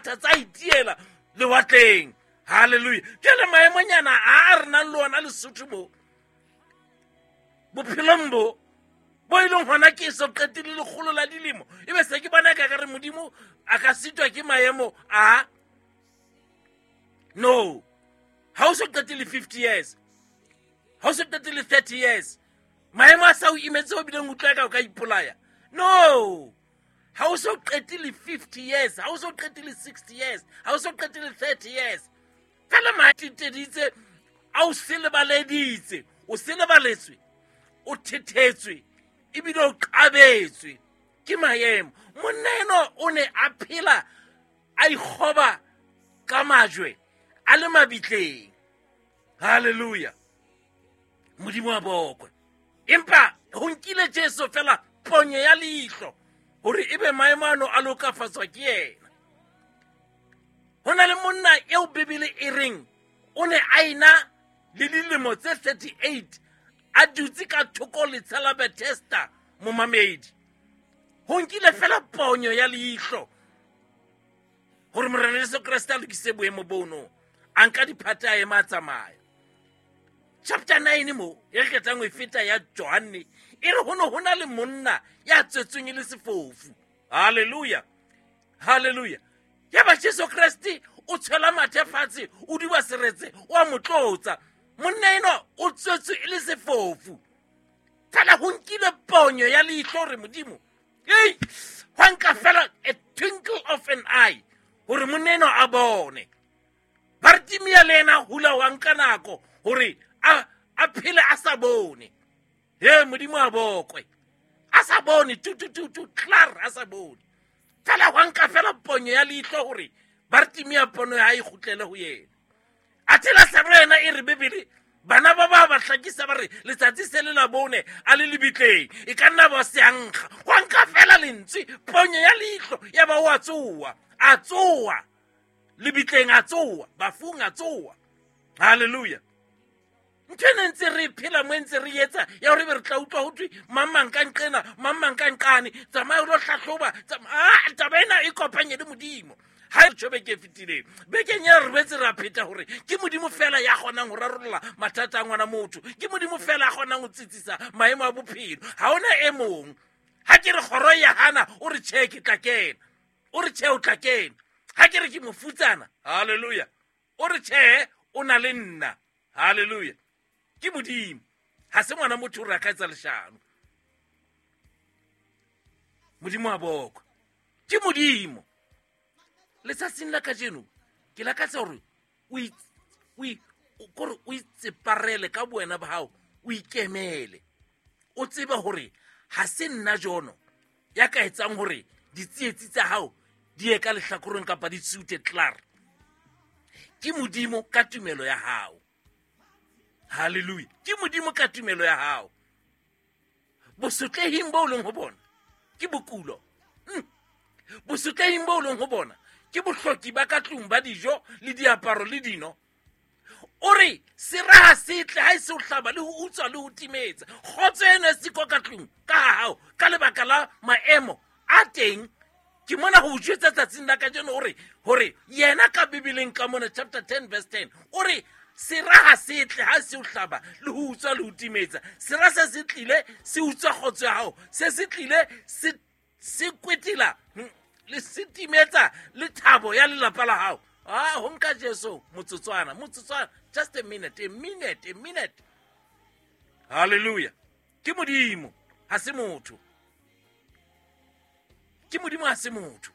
Diphaphatha tsa itiela lewatleng. Halleluja. Jale maemonyana a a re nang le ona Lesotho mo bophelong bo bo e leng gona ke so qetile lekgolo la dilemo, e be se ke bona ka kare Modimo a ka sitwa ke maemo a. No, ga o so qetile 50 years, ga o so qetile 30 years, maemo a sa o imetse o bileng utlwa ka o ka ipolaya. No, ga o so qetile 50 years, ga o so qetile 60 years, ga o so qetile 30 years, fela maeteditse a o selebaleditse, o selebaletswe, o thethetswe, ebile o qabetswe ke maemo. Monna eno o ne a phela a ikgoba ka majwe a le mabitleng. Halleluja. Modimo wa bokwe. Empa go nkile Jesu fela ponyo ya leihlo gore e be maemo ano a lokafatswa ke yena. Go na le monna eo Bibele e reng o ne a ena le dilemo tse 38 a dutse ka thoko letsha la Bethesda. Momamedi, go nkile fela ponyo ya leihlo gore Morena Jesu Kriste a lokise boemo bono, a nka diphate a ema a tsamaya. Chapter 9 mo e re qetang ho e feta ya Johanne e re ho ne ho na le monna ya tswetsweng e le sefofu. Halleluja, halleluja. Ya ba Jesu Kriste o tshwela mathe fatshe, o duba seretse, o a mo tlotsa. Monna enwa o tswetswe e le sefofu, fela go nkile ponyo ya leihlo gore Modimo ei gwa nka fela a twinkle of an eye gore monna enwa a bone. Bartimia le ena hula wa nka nako gore a phele a sa bone. He, Modimo a bokwe. A sa bone tutututu clar, a sa bone, fela gwa nka fela ponyo ya leihlo gore Bartimia pono ya e kgutlele go yena. A tshela sero yena e re Bebele bana ba ba ba hlakisa ba re letsatsi se le la bone a le lebitleng, e ka nna ba seankga. Gwa nka fela lentswe, ponyo ya leihlo, ya ba o a tsoa, a tsoa lebitleng, a tsoa bafung, a tsoa. Halleluja. Ntho e ne ntse re phela mo e ntse re etsa ya gore be re tla utlwa go thwe mang mang ka nqena, mang mang ka nqane, tsamaya o lo hlahloba. Taba ena e kopanye le Modimo. Ga e tšho beke e fetileng, bekeng ya re betse ra pheta gore ke Modimo fela ya kgonang go rarolola mathata a ngwana motho, ke Modimo fela a kgonang go tsitsisa maemo a bophelo, ga ona e mong. Ga ke re kgoro ya gana, o re tšhe ke tla kena, o re tšhe o tla kena. Ga ke re ke mofutsana, halleluja, o re tšhe o na le nna. Halleluja. Ke Modimo, ga se ngwana motho o re a ka etsa leshano. Modimo a bokwe, ke Modimo. Letsatsing la kajeno ke lakatsa gore kore o itseparele ka bowena ba gago, o ikemele, o tsebe gore ga se nna jono ya ka etsang gore ditsietsi tsa gago di ye ka lehlakoreng kapa di tsute clar. Ke Modimo ka tumelo ya gago. Halleluja. Ke Modimo ka tumelo ya gago. Bosotlehing bo o leng go bona ke bokulo, bosotlehing bo o leng go bona ke bohloki ba ka tlung ba dijo le diaparo le dino. O re seraga se tle ga e se o hlaba le go utswa le go timetsa. Kgotso eno e siko ka tlung ka ga gago ka lebaka la maemo a teng. Ke mona go jwetsa tsatsing la kajeno gore gore yena ka Bibeleng ka mona chapter 10 verse 10 o re seraga se tle ga se o hlaba le go utswa le go timetsa. Sera se se tlile se utswa kgotso ya gago, se se tlile se kwetela le se timetsa le thabo ya lelapa la gago. A go nka Jesu motsotswana, motsotswana, just a minute, a minute, a minute. Halleluja. Ke Modimo, ga se motho. Ke Modimo, ga se motho.